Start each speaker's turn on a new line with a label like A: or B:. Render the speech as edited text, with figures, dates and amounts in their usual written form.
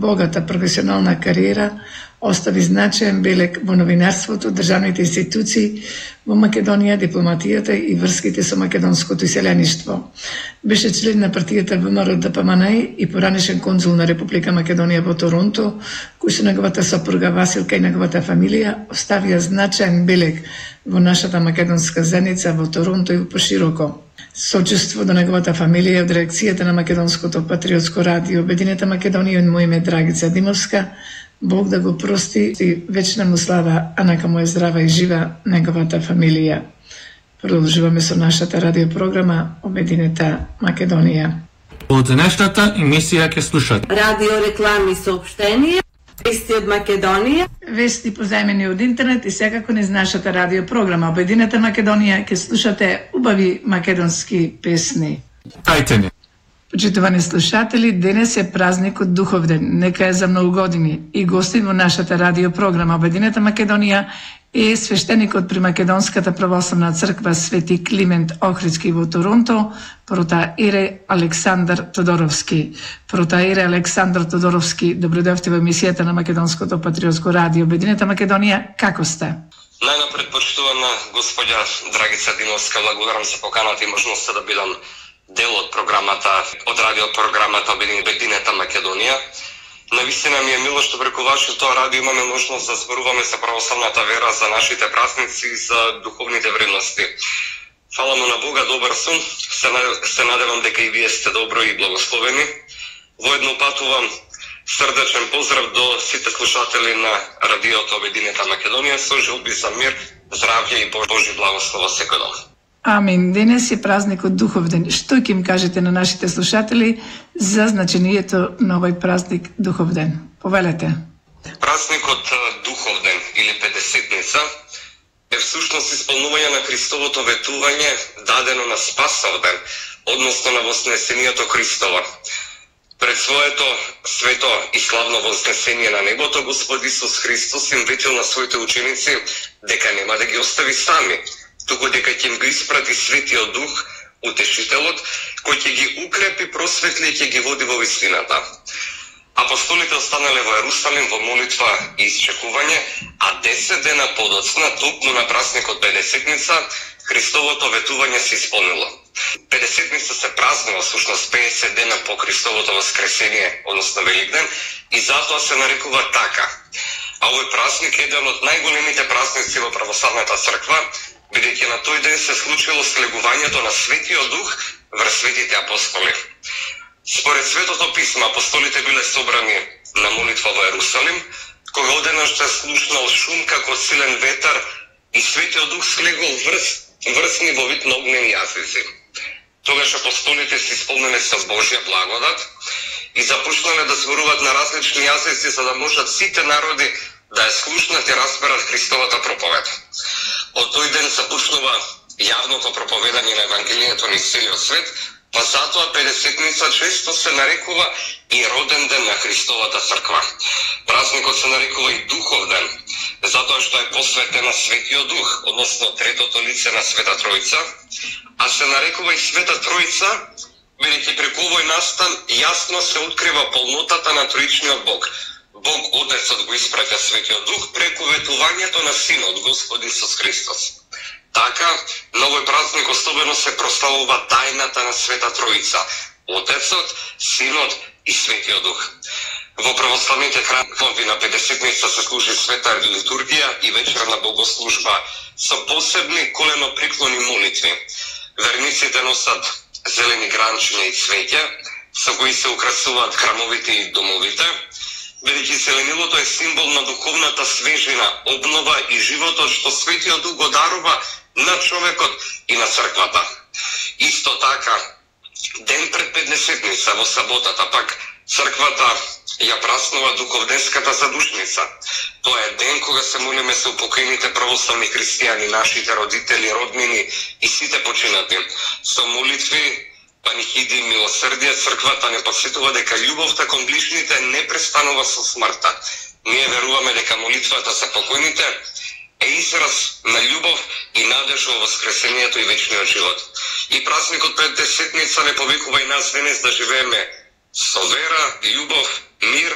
A: богата професионална кариера остави значаен белег во новинарството, државните институции во Македонија, дипломатијата и врските со македонското иселеништво. Беше член на партијата ВМРО ДПМН и поранешен конзул на Република Македонија во Торонто, кој со неговата сопруга Василка и неговата фамилија оставија значаен белег во нашата македонска заедница во Торонто и пошироко. Сочувство до неговата фамилија од редакцијата на Македонското патриотско радио Обединета Македонија и моје име Драгица Димовска. Бог да го прости и вечна му слава, а нека му е здрава и жива неговата фамилија. Продолжуваме со нашата радиопрограма Обединета Македонија.
B: Од денешната емисија ќе слушат
C: радио реклами соопштенија, вести од Македонија,
A: вести позајмени од интернет и секако низ нашата радиопрограма Обединета Македонија ќе слушате убави македонски песни.
B: Тајте ни.
A: Почитувани слушатели, денес е празникот Духовден, нека е за многу години и гостин во нашата радиопрограма Обединета Македонија е свештеникот при Македонската православна црква Свети Климент Охридски во Торонто, протоиерей Александар Тодоровски. Протоиерей Александар Тодоровски, добродојавте во емисијата на Македонското патриотско радио Обединета Македонија, како сте?
D: Најнапред, почитувана господја Драгица Димовска, благодарам за поканата и можноста да бидам дел од програмата, од радиопрограмата Обединета Македонија. Навистина ми е мило што преку вашето радио имаме можност да зборуваме за православната вера, за нашите празници и за духовните вредности. Фала му на Бога, добар сум, се надевам дека и вие сте добро и благословени. Воедно патувам срдечен поздрав до сите слушатели на радиото Обединета Македонија со желби за мир, здравје и Божи благослов секој ден.
A: Амин. Денес е празникот Духовден. Што ќе им кажете на нашите слушатели за значението на овој празник Духовден? Повелете.
D: Празникот Духовден или Педесетница е всушност исполнување на Христовото ветување дадено на Спасовден, односно на Вознесението Христово. Пред своето свето и славно вознесение на небото, Господ Исус Христос им ветил на своите ученици дека нема да ги остави сами, туку дека ќе им го испрати Светиот Дух, Утешителот, кој ќе ги укрепи, просветли и ќе ги води во вистината. Апостолите останале во Ерусалим во молитва и исчекување, а 10 дена подоцна, токму на празникот Педесетница, Христовото ветување се исполнило. Педесетница се празнува всушност 50 дена по Христовото воскресение, односно Великден, и затоа се нарекува така. А овој празник е еден од најголемите празници во православната црква, бидејќи на тој ден се случило слегувањето на Светиот Дух врз светите апостоли. Според Светото писмо, апостолите биле собрани на молитва во Ерусалим, кога одеднаш се слушнал шум како силен ветар и Светиот Дух слегол врз во вид на огнени јазици. Тогаш апостолите се исполнени со Божја благодат и започнале да зборуваат на различни јазици за да можат сите народи да ја слушнат и разберат Христовата проповед. Од тој ден започнува јавното проповедање на Евангелието низ целиот свет, па затоа Педесетница често се нарекува и роден ден на Христовата црква. Празникот се нарекува и Духовден, затоа што е посветен на Светиот Дух, односно третото лице на Света Тројца, а се нарекува и Света Тројца, бидејќи преку овој настан јасно се открива полнотата на Троичниот Бог. Бог Отецот го испраќа Светиот Дух преку ветувањето на Синот Господ Исус Христос. Така, на овој празник особено се прославува тајната на Света Тројца, Отецот, Синот и Светиот Дух. Во православните храмови на Педесетница се служи света литургија и вечерна богослужба со посебни коленопреклони молитви. Верниците носат зелени гранчиња и цвеќа, со кои се украсуваат храмовите и домовите, бидејќи зеленилото е символ на духовната свежина, обнова и животот што Светиот Дух го дарува на човекот и на црквата. Исто така, ден пред Педесетница во саботата пак црквата ја празнува Духовденската задушница. Тоа е ден кога се молиме со упокоените православни христијани, нашите родители, роднини и сите починати. Со молитви, панихиди и милосрдие, црквата не подсетува дека љубовта кон ближните не престанува со смртта. Ние веруваме дека молитвата за покојните е израз на љубов и надеж во воскресението и вечниот живот. И празникот Педесетница не повикува и нас денес да живееме со вера, љубов, мир